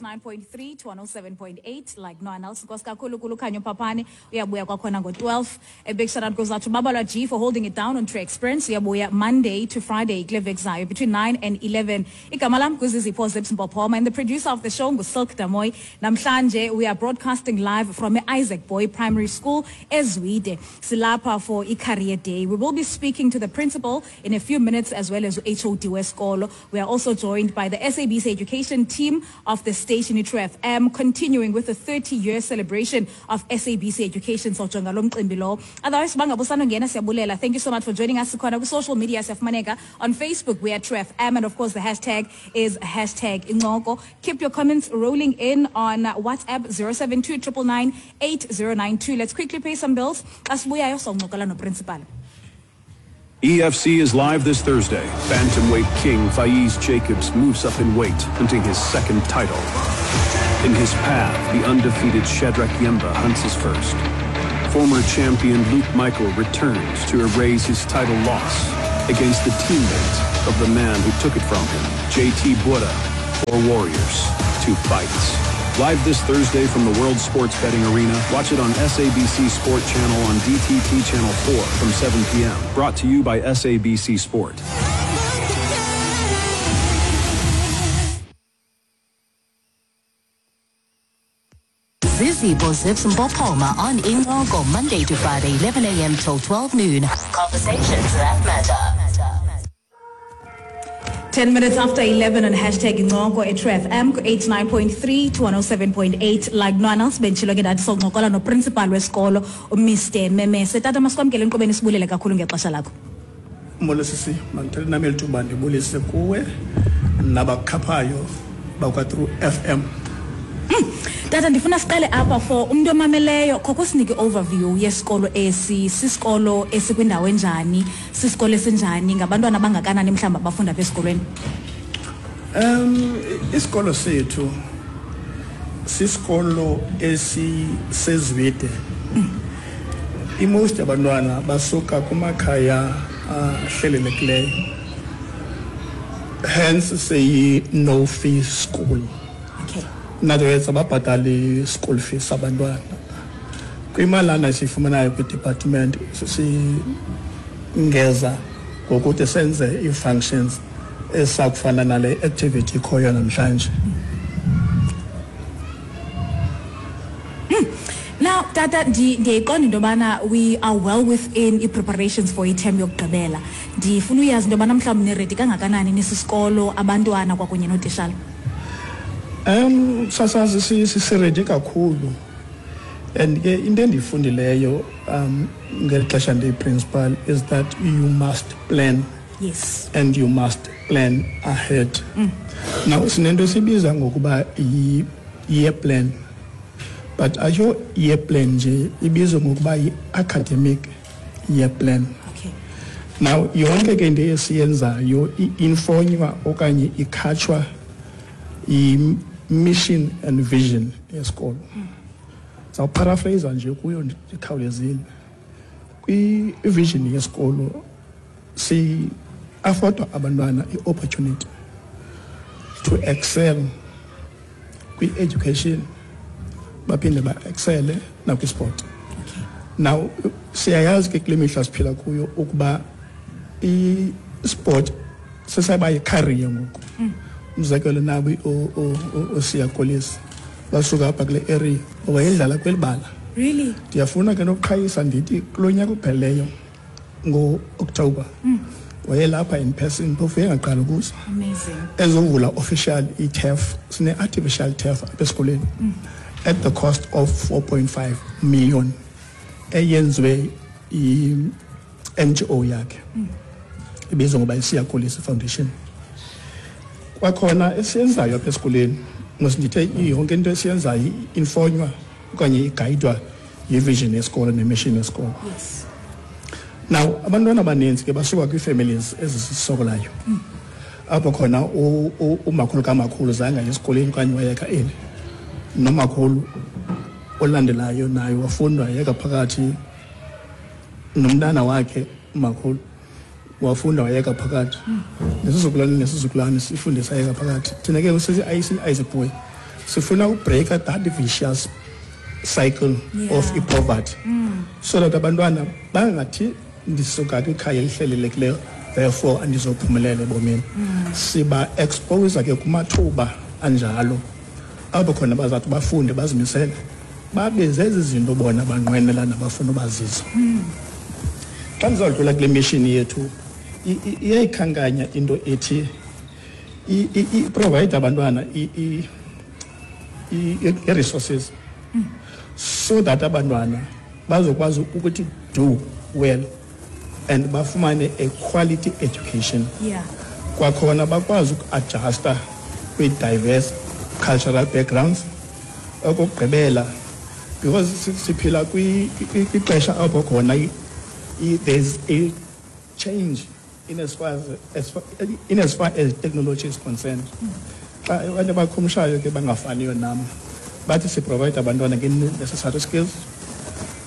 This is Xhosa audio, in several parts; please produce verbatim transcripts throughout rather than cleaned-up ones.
nine point three to one oh seven point eight, like no one else. Nkosi kakhulu kuLukhanyo Papane, uyabuya kwakhona ngo-twelve. A big shout out goes out to Babalwa G for holding it down on True Experience. Uyabuya Monday to Friday kule veki zayo between nine and eleven. Igama lam nguZizipho Zips Mpophoma, and the producer of the show nguSilk Damoy. Namhlanje we are broadcasting live from Isaac Boy Primary School eZwide. Silapha for i-Career Day. We will be speaking to the principal in a few minutes as well as H O D wesikolo. We are also joined by the S A B C education team of the station True F M, continuing with the thirty-year celebration of S A B C education. Sojonga lo mcimbi lo. Otherwise, bangabusano ngena siyabulela. Thank you so much for joining us. Sikhona ku social media siyafumaneka. On Facebook, we are True F M, and of course the hashtag is hashtag Incoko. Keep your comments rolling in on WhatsApp zero seven two triple nine eight zero nine two. Let's quickly pay some bills. Asibuyayo soncokola no principal. E F C is live this Thursday. Bantamweight king Faiz Jacobs moves up in weight, hunting his second title. In his path, the undefeated Shadrack Yemba hunts his first. Former champion Luke Michael returns to erase his title loss against the teammate of the man who took it from him, J T Buddha, four warriors, two fights. Live this Thursday from the World Sports Betting Arena. Watch it on S A B C Sport Channel on D T T Channel four from seven P M. Brought to you by S A B C Sport. Zizipho Zips Mpophoma on Incoko, Monday to Friday, eleven A M till twelve noon. Conversations that matter. ten minutes after eleven on hashtag Incoko at True F M, eighty-nine point three to one oh seven point eight. Like no one else, benditshilo ke ndathi soncokola no principal wesikolo, uMr Memese. Tata, masikwamkele enkqubeni, sibulele kakhulu ngexesha lakho. Molo sisi, mandithele nami eli thuba ndibulise kuwe nabakhaphayo bakwa True F M. Mm. Tata, ndifuna siqale apha for umntu omameleyo, khokho sinike overview yesikolo esi, sisikolo esikwindawo enjani, sisikolo esinjani, ngabantwana abangakanani mhlawumbi abafunda apha esikolweni? Um, isikolo sethu sisikolo esiseZwide. Mm. I-most abantwana basuka kumakhaya ahlelelekileyo. Hence siyi no fee school. Okay. In other words, ababhatali school fees abantwana. Kwimalana esiyifumanayo kwi-department singeza ngokuthi senze ii-functions esakufana nale activity ikhoyo namhlanje. Mm. Now, Tata, ndiyayiqonda into yobana we are well within i-preparations for i-term yokugqibela. Ndifuna uyazi into yobana mhlawumbi niredi kangakanani nisisikolo, abantwana kwakunye nootishala. Um sasazi sisiredi kakhulu, and ke into endiyifundileyo um ngeli xesha ndiyi-principal is that you must plan. Yes. And you must plan ahead. Mm. Now sinento esibiza ngokuba yi-year plan, but ayo year plan nje ibizwa ngokuba yi-academic year plan. Okay. Now yonke ke into esiyenzayo i-infonywa okanye ikhatshwa i-mission and vision yesikolo. Zawuparaphrase nje kuyo ndikhawulezile. Kwi-vision yesikolo si afford abantwana i-opportunity to excel kwi-education, baphinde ba-excele nakwi-sport. Okay. Now siyayazi ke kule mihla siphila kuyo ukuba i-sport sesayaba yi-career ngoku. Mm. Umzekelo nabo oSiya Kolisi basuka apha kule area wayedlala kweli bala. Really? Ndiyafuna ke nokuqhayisa ndithi kulo nyaka uphelileyo ngo-October mm. wayelapha in person, phofu engaqala ukuza. Amazing. Ezovula official i-turf, sine-artificial turf apha esikolweni mm. at the cost of four point five million eyenziwe i-N G O yakhe mm. ibizwa ngoba iSiya Kolisi Foundation. Kwakhona esiyenzayo apha esikolweni, ngosindithe yonke into esiyenzayo infonywa okanye igayidwa yi-vision yesikolo ne-mission yesikolo. Yes. Now abantwana abaninzi ke basuka kwii-families ezisokolayo. Mm. Apho khona umakhulu kamakhulu zange aye esikolweni okanye wayeka eli. Nomakhulu olandelayo naye wafunda wayeka phakathi, nomntana wakhe umakhulu wafunda wayeka phakathi. Mm. Nesizukulwane nesizukulwane sifundisa yeka phakathi. Thina ke sithi Isaac Boy Sifuna ubreaka that vicious cycle Yeah. of i-poverty so that abantwana bangathi ndisuka kwikhaya elihlelelekileyo, therefore andizophumelela ebomini. Siba expose ke kumathuba anjalo apho khona bazathi bafunde, bazimisele, babe zezi zinto bona banqwenela nabafuna ubazizo. Xa ndizawudlula kule mission yethu, i- i- iyayikhankanya into ethi i- i- i-provide abantwana i- i- i- i-resources so that abantwana bazokwazi ukuthi do well and bafumane a quality education. Yeah. Kwakhona bakwazi uku-adjusta kwi-diverse cultural backgrounds. Okokugqibela, because si- siphila kwi- kwi- kwixesha apho khona i- i- there's a change in as far as, as far, in as far as technology is concerned. Xa abantu abakhumshayo ke bangafaniyo nam bathi siprovide abantwana nge-necessary skills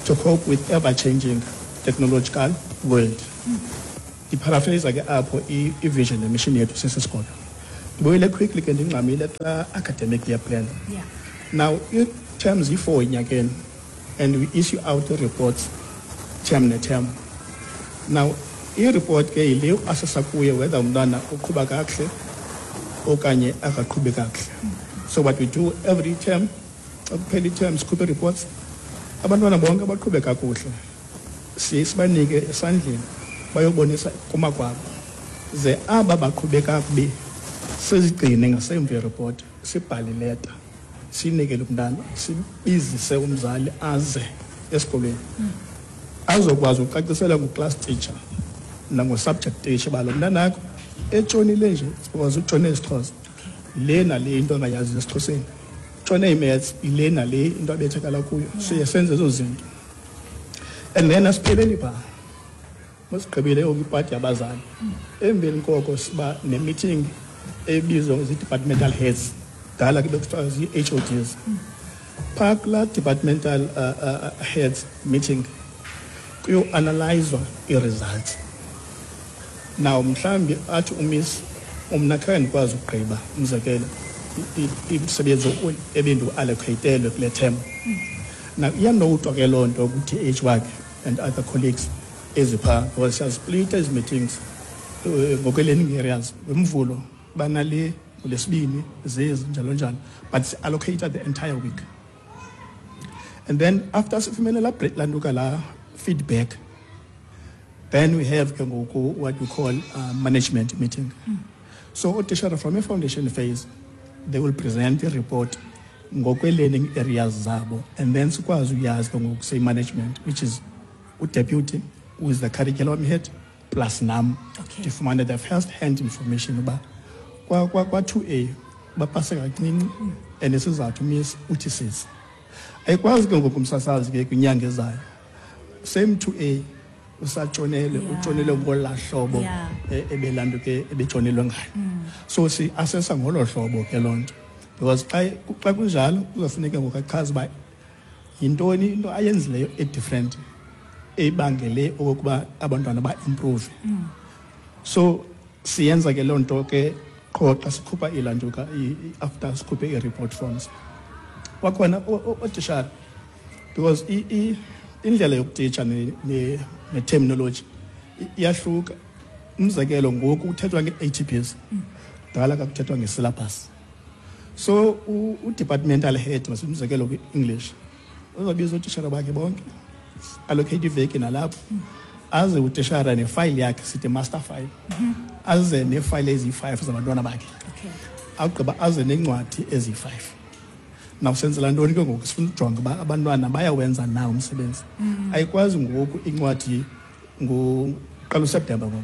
to cope with ever-changing technological world. Ndiparaphrase ke apho i- i-vision nemission yethu sesisikolo. Ndibuyele quickly ke, ndingxamile xa academic year plan. Yeah. Now, ii-terms yi-four enyakeni and we issue out reports term ne-term. Now, i-report ke yile uassessa kuye whether umntwana uqhuba kakuhle okanye akaqhubi kakuhle. So what we do every term, xa kuphela i-term, sikhuphe reports. Abantwana bonke abaqhube kakuhle siye sibanike esandleni bayobonisa kumakwabo, ze aba baqhube kakubi sizigcine ngasemva ireport, sibhale ileta, siyinikele umntana, sibizise umzali aze esikolweni azokwazi ukucacisela ngu-class teacher nango-subject teacher uba lo mntanakho etshonile nje because utshone isiXhosa, le nale into angayaziyo esiXhoseni, tshone i-maths, ile nale into abethakala kuyo. Siye senze ezo zinto and then asipheleli phaa. Masigqibile oku ipati yabazali, emveni koko siba ne-meeting ebizwa zii-departmental heads, dala ke bekuthiwa zii-H O Ds. Phaa kulaa departmental uh, uh, heads meeting kuyoanalyzwa ii-results. Now mhlawumbi athi umiss, umna khange ndikwazi ukugqiba, umzekelo, i- i- imisebenzi ebendiwu-allocatelwe kule term. Now iyanotwa ke loo nto ku-T H wakhe and other colleagues eziphaa, because siyazisplita ezi meetings eh, ngokwe-learning areas. Ngomvulo banale, ngolwesibini zezi, njalo njalo, but si-allocate the entire week. And then after sifumene laa break, lantuka laa feedback, then we have ke ngoku what we call uh, management meeting. So ootishara from a-foundation phase, they will present the report ngokwe-learning areas zabo, and then sikwazi uyazi ke ngoku seyi-management, which is udeputy who is the curriculum head plus nam, Okay. ndifumane the first hand information uba kwa- kwa- kwa-two A bapase kancinci and isizathu miss uthi sisi. Ayikwazi ke ngoku umsasazi ke kwinyanga ezayo same two A usatshonele, Yeah. utshonele ngolaa hlobo Yeah. e- ebelanto ke ebetshonelwe ngayo. So si-assessa ngolo hlobo ke loo nto, because xa xa kunjalo kuzofuneka ngoku achaze uba yintoni into ayenzileyo e-different ebangele okokuba abantwana ba-improve. So siyenza ke loo nto ke qho xa sikhupha ilantuka, i- i- after sikhuphe ii-report forms. Kwakhona o- o- ootishara, because i- i- indlela yokutitsha ne- ne- ne-terminology i- iyahluka. Umzekelo, ngoku kuthethwa nge-A T Ps, kudala kakuthethwa nge-syllabus. So u- u-departmental head, umzekelo kwi-English, uzobiza ootishara bakhe bonke, allocate iveki nalapho, aze utishara nefayile yakhe, sithi master file, aze neefayile eziyi-five zabantwana bakhe. Okay. Agqiba aze neencwadi eziyi-five. Now senzela ntoni ke ngoku? Sifuna ujonga uba abantwana bayawenza na umsebenzi. Ayikwazi ngoku incwadi ngoqala uSeptemba, ngoku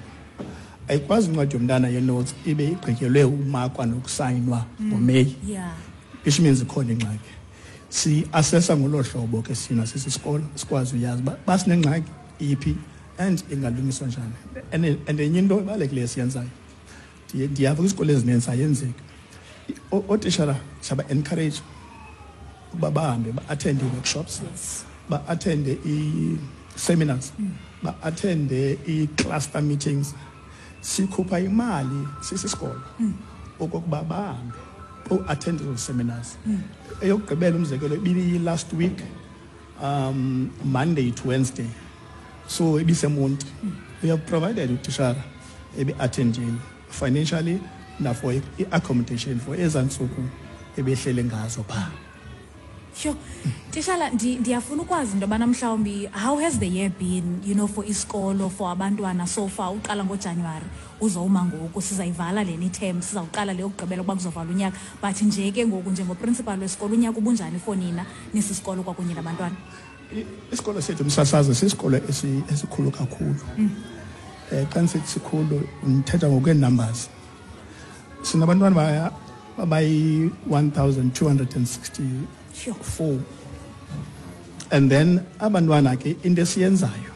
ayikwazi incwadi yomntana ye-notes ibe igqityelwe umakwa nokusayinwa ngoMeyi, Yeah. which means ikhona ingxaki. Si-assessa ngolo hlobo ke sina sisisikolo, sikwazi uyazi uba basinengxaki iphi and ingalungiswa njani. and and enye into ebalulekileyo esiyenzayo, ndiye- ndiyava kwizikolo ezininzi ayenzeki. I- o- ootishara siyaba-encourage ukuba bahambe ba-attende ii-workshops, Yes. ba-attende ii-seminars, ba-attende ii-cluster meetings. Sikhupha imali sisisikolo okokuba bahambe. attend those seminars. Eyokugqibela umzekelo ibiyi last week, um Monday to Wednesday. So ibiseMonti. We have provided utishara ebi-attendile financially na for i-accommodation for ezantsuku ebehlele ngazo phaa. Sure. Tishala, ndiyafuna ukwazi into yobana mhlawumbi how has the year been, you know, for isikolo, for abantwana so far? Uqala ngoJanuwari uzowuma ngoku, sizayivala lena iterm, sizawuqala le yokugqibela ukuba kuzovala unyaka. But nje ke ngoku njengoprincipal wesikolo, unyaka ubunjani for nina nisisikolo kwakunye nabantwana? Isikolo sethu, msasazi, sisikolo esikhulu kakhulu. Eh xa ndisithi sikhulu ndithetha ngokwee-numbers. Sinabantwana abayi one thousand two hundred and sixty-four. And then abantwana ke into esiyenzayo,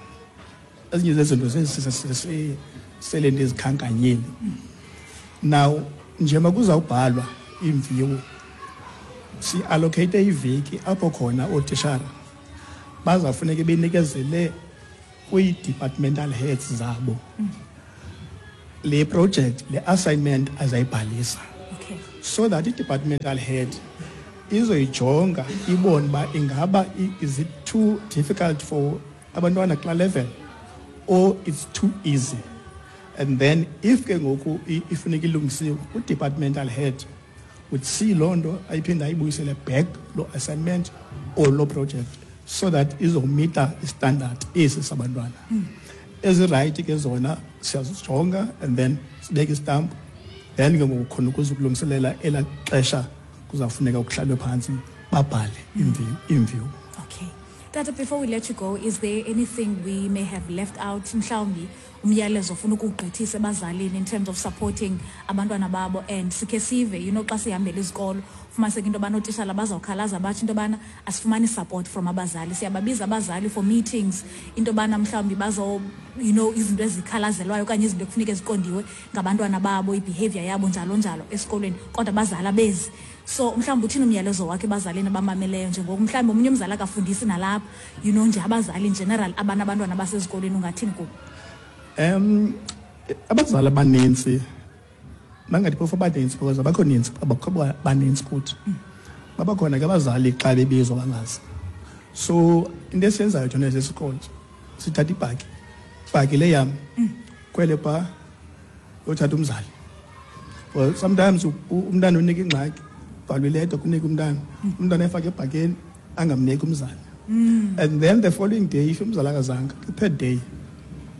ezinye zezinto sele ndizikhankanyile. Now njengoba kuzawubhalwa iimviwo, si-allocate iveki apho khona ootishara bazawufuneke benikezele kwii-departmental heads zabo le project, le assignment azayibhalisa. Okay. So that i-departmental head izoyijonga ibone uba ingaba is it too difficult for abantwana kulaa level or it's too easy. And then if ke ngoku ifuneka ilungisiwe, u-departmental head would see loo nto ayiphinde ayibuyisele back loo assignment or loo project so that izomita istandard esi sabantwana. Ezirayithi ke zona siyazijonga and then sibeke istamp, then ke ngoku khona ukuze ukulungiselela elaa xesha kuzawufuneka kuhlalwe phantsi babhale iimviwo. Okay. Tata, before we let you go, is there anything we may have left out? Mhlawumbi umyalezo ofuna ukuwugqithisa ebazalini in terms of supporting abantwana babo, and sikhe sive, you know, xa sihambela izikolo, fumaniseke into yobana ootishala bazawukhalaza batsho into yobana asifumani support from abazali. Siyababiza abazali for meetings, into yobana mhlawumbi bazo, you know, izinto ezikhalazelwayo okanye izinto ekufuneka ziqondiwe ngabantwana babo, i-behavior yabo njalo njalo esikolweni, kodwa abazali abezi. So mhlawumbi uthini umyalezo wakhe ebazalini abamameleyo njengoku mhlawumbi omnye umzali akafundisi nalapha, you know, nje abazali in general abanabantwana basezikolweni, ungathini kubo? Um abazali abanintsi, bangathi phofu abanintsi because abakho nintsi, abakho banintsi kuthi. Babakhona ke abazali xa bebizwa bangazi. So into esiyenzayo thina sesikolo, sithatha ibhaki, ibhaki le yam, kwele phaa yothatha umzali. Well, sometimes umntana unika ingxaki, ubhalwe ileta kunika umntana, umntana efake ebhakeni angamniki umzali. And then the following day, if umzali akazanga, the third day,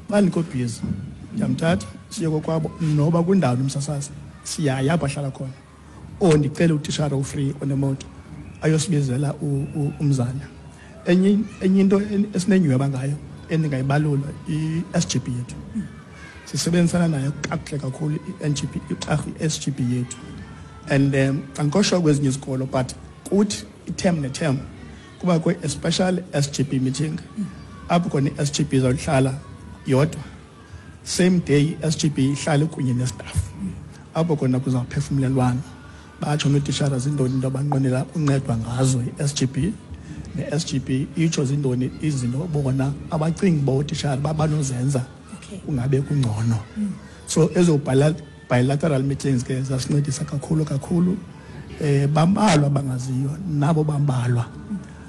bandikho busy, ndiyamthatha siye kokwabo noba kwindawo nomsasazi, siyaya apho ahlala khona. Or ndicele utishara ufree onemoto ayosibizela umzali. Enye enye into esinenyhweba ngayo endingayibalula, i-S G B yethu. Sisebenzisana nayo kakuhle kakhulu i-N G B, i-S G B yethu. And um, andikosho kwezinye izikolo, but kuthi i-term ne-term kubakho a special S G B meeting apho khona i-S G B izawuhlala yodwa. Same day i-S G B ihlale kunye nestaff apho khona kuzawuphefumlelwana, batsho nootishara zintoni into abanqwenela uncedwa ngazo i-S G B, ne-S G B itsho zintoni izinto bona abacingi uba ootishara babanozenza kungabe kungcono. So ezo bilateral meetings ke zasincedisa kakhulu kakhulu. Eh bambalwa bangaziyo nabo bambalwa,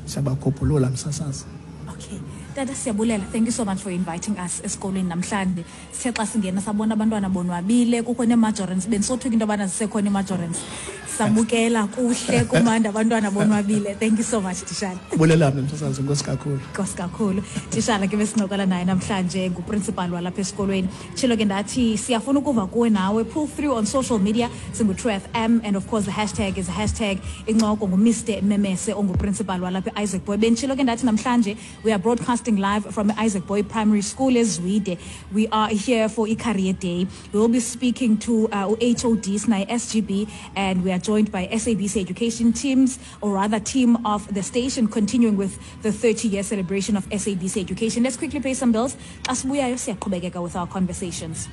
siyabakhuphulula msasazi. Okay. Tata, siyabulela. Thank you so much for inviting us esikolweni namhlanje. Sithe xa singena sabona abantwana bonwabile, kukho nee-majorants, bendisothuka into yobana zisekhona ii-majorants. Sabukela kuhle kumandi, abantwana bonwabile. Thank you so much, Tishala. Bulela mna msasazi, enkosi kakhulu. Enkosi kakhulu. Tishala ke besincokola naye namhlanje, nguprincipal walapha esikolweni. Tshilo ke ndathi siyafuna ukuva kuwe nawe. Pull through on social media, singu-True F M, and of course the hashtag is hashtag incoko ngu-Mister Memese onguprincipal walapha e-Isaac Boy. Benditshilo ke ndathi namhlanje we are broadcasting live from Isaac Boy Primary School eZwide. We are here for i-Career Day. We will be speaking to uh, H O Ds, S N I S G B, and we are joined by S A B C education teams, or rather team of the station, continuing with the thirty-year celebration of S A B C education. Let's quickly pay some bills. Xa sibuyayo siyaqhubekeka with our conversations.